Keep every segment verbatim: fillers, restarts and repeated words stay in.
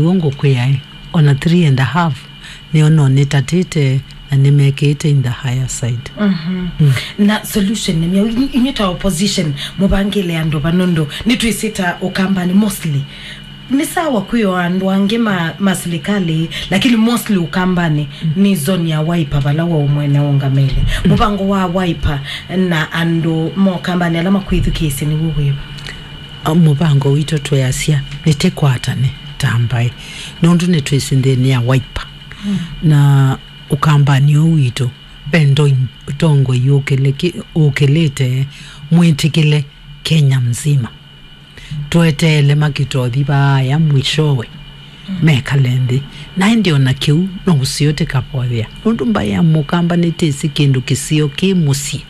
Ũu ngũkwĩaĩ, ona three and a half nĩo no nĩtatĩte na nĩmekĩĩte in the higher side. Mhm. Na solution nĩ myaũ? Inyu-, inyuĩ ta opposition, mũvangĩle andũ va nũndũ nĩtwĩsĩ ta Ũkambanĩ mostly. Nĩ sawa kwĩo andũ angĩ ma, ma silikalĩ, lakini mostly Ũkambanĩ nĩ zone ya Wiper vala wa ũmwene ũngamĩle. Mũvango wa Wiper na andũ ma Ũkambanĩ ala makwĩthukĩĩsye nĩw'o wĩva? A, mũvango witũ tweasya nĩtĩkwatane ta mbaĩ, nũndũ nĩtwĩsĩ nthĩnĩ ya Wiper. Na Ũkambanĩ ũũ witũ, ve ndoi, ũtongoi ũkĩlĩki-, ũkĩlĩte mwĩtĩkĩle Kenya mzima. Tweteele makĩtothi vaaya mwishowe mekale nthĩ. Na ĩndĩ ona kĩu no ũseo tĩkavothea. Nũndũ mbaĩ ya Mũkamba nĩtĩsĩ kĩndũ kĩseo kĩ mũsyĩ.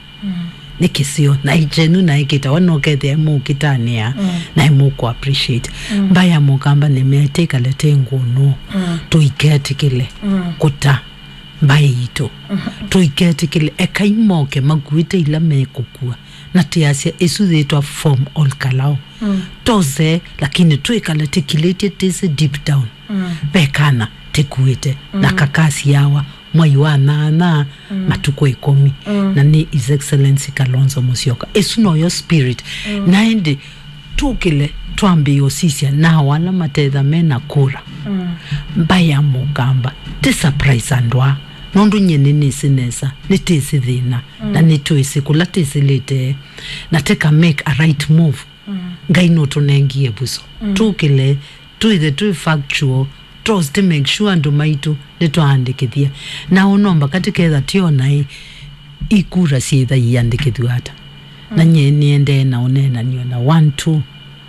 Nĩ kĩseo. Na ĩkyenu na ĩkĩtawa no kethĩa ĩmũkĩtanĩa, na ĩmũkũ appreciate. Mbaĩ ya Mũkamba nĩmea tĩkale tĩ ngũnũ. Tũiketĩkĩle kũta mbaĩ itũ. Tũiketĩkĩle, ekai moke makuĩte ila mekũkua. Na tĩasya ĩsu yĩtwa form all kalao. Tose, lakini twĩkale tĩkilĩtye tĩsĩ deep down. Ve kana tĩkuĩte, na kakasiawa mwai wa nyanya, matukũ ĩkũmi. Na nĩ His Excellency Kalonzo Musyoka. Ĩsu noyo spirit. Na ĩndĩ tũkĩle twambĩĩe ũsisya nao ala matetha mena kura. Mbaĩ ya Mũkamba, tĩ surprise andũ aa, nũndũ nyie nĩnĩsĩ nesa, nĩtĩsĩ thĩna, na nĩtwĩsĩ kũla tĩsĩlĩte, na tĩka make a right move. Ngai nũtũnengie vuso. Tũkĩle, twĩthe twĩ factual, tũsĩ make sure andũ maitũ nĩtwaandĩkĩthya. Na ũno mbaka tĩketha tĩ ona ĩ, ikura syĩtha iandĩkĩthw'a ata. Na nyie nĩendee na ũneenany'o na one two.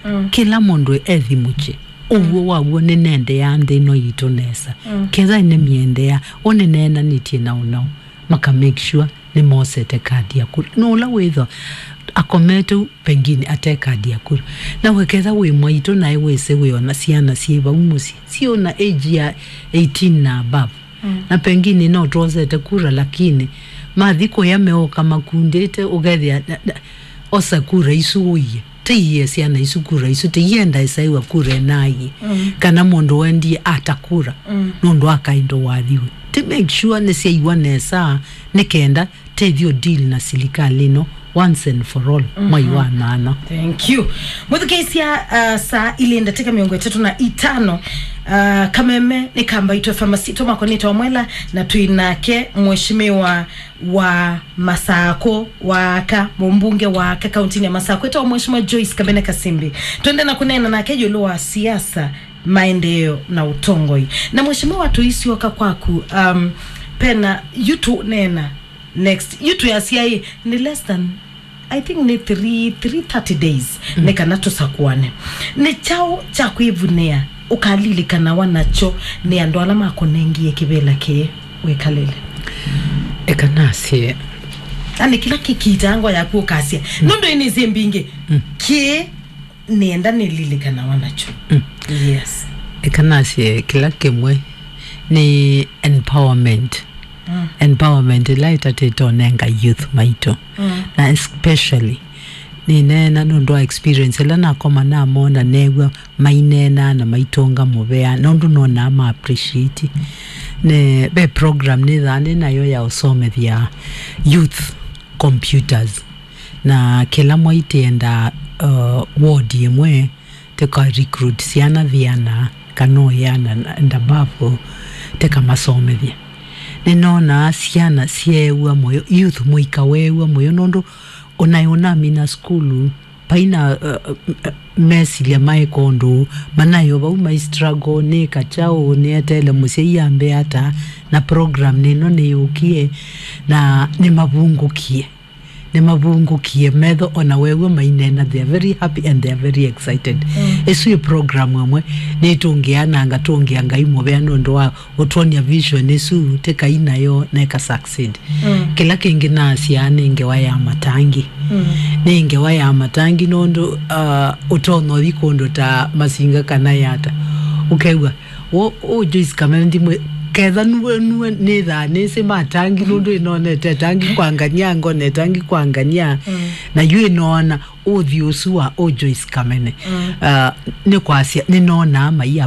Kĩla mũndũ ethimũkye. Ũw'o waw'o nĩnendeea nthĩ ĩno yitũ nesa. Ketha nĩmĩendeea, o nĩneenanĩtye na ũnao, maka make sure nĩmosete kadi ya kura. No ũla wĩthwa akomete u, pengine ate kadi ya kura. Na we ketha wĩ mwaitũ naĩ wĩsĩ wĩona syana syĩ vau mũsyĩ, syĩona age ya eighteen na above. Na pengine no twosete kura, lakini mathi kũya meũka makundĩte, ũkethĩa, na, na, osa kura isu ũie. Tĩie syana isu kura isu, tĩienda ĩsaĩwa kura ĩnaie. Kana mũndũ wendie ata kura, nũndũ akaĩndũ wathiwe. Tĩ make sure nĩsyaiwa nesa, nĩ kenda tĩthi ũ deal na silikalĩ ĩno once and for all, mwai wa nyanya. Thank you. Mwĩthukĩĩsya, uh, saa ilĩ ndatĩka mĩongo ĩtatũ na itano, uh, kameme nĩ ka Mbaitũ F M, masitwa makwa nĩ Tom Mwela, na twĩ nake mheshimiwa wa Masakũ wa aka, mũmbunge wa aka kauntinĩ ya Masakũ, etawa Mheshimiwa Joyce Kamene Kasimbi. Twende na kũneena nake ĩũlũ wa siasa, maendeeo na ũtongoi. Na mheshimiwa, tũisyoka kwaku, um, pena yu tũneena next. Yu twĩasya ĩ, nĩ less than, I think nĩ three, three thirty days, nĩ kana tũsakũane. Nĩ kyaũ kya kwĩvunĩa ũkalilikanawa nakyo nĩ andũ ala makũnengie kĩvĩla kĩĩ wĩkalĩle? Eka nasye. Ani kĩla kĩkiitaa ngoo yaku ũkasya. Nũndũ ĩnĩsĩ mbingĩ. Kĩĩ nĩenda nĩlilikanawa nakyo. Yes. Eka nasye kĩla kĩmwe nĩ empowerment. Empowerment ĩla ĩtatĩte ũnenga youth maitũ. Na especially, nĩneena nũndũ wa experience ĩla nakoma namona, neew'a maineena na maitũnga mũvea, nũndũ nonaa ma appreciate. Ne, ve program nĩthaa nĩ nayo ya ũsomethya youth computers. Na kĩla mwai tĩenda, uh, ward ĩmwe, tĩka recruit syana viana, kana ũyana na, and above, tĩkamasomethya. Nĩnonaa syana syeew'a mũyo, youth mũika weew'a mũyo, nũndũ ũnaĩ ũnamina sukulu, paina, uh, uh, mesilya maeka ũndũ, manaĩ o vau mai struggle, nĩka kyaũ, nĩeteele mũsyai ambe ata, na program nĩno nĩyũkie, na nĩmavungũkie. Nĩmavungũkie metho, ona weew'a maineena, they are very happy and they are very excited. Ĩsu ĩ program ĩmwe, nĩtũngĩaa na ngatũngĩa Ngai mũvea nũndũ wa ũtwonia vision ĩsu, tĩkai nayo na ĩka succeed. Kĩla kĩngĩ nasyaa nĩ ngewa ya matangi. Nĩ ngewa ya matangi nũndũ, uh, ũtonya ũthi kũndũ ta Masinga kana Yata. Ũkew'a, Wo, ũ Joyce Kamene ndimwĩ, ketha nuwe, nuwe nĩthaa nĩsĩ matangi, nũndũ ĩnonete tangi kwa ngania, ngonete tangi kwa ngania, na yu ĩnoona ũthi ũsu wa ũ Joyce Kamene. Ah, nĩ kwasya, nĩnonaa mai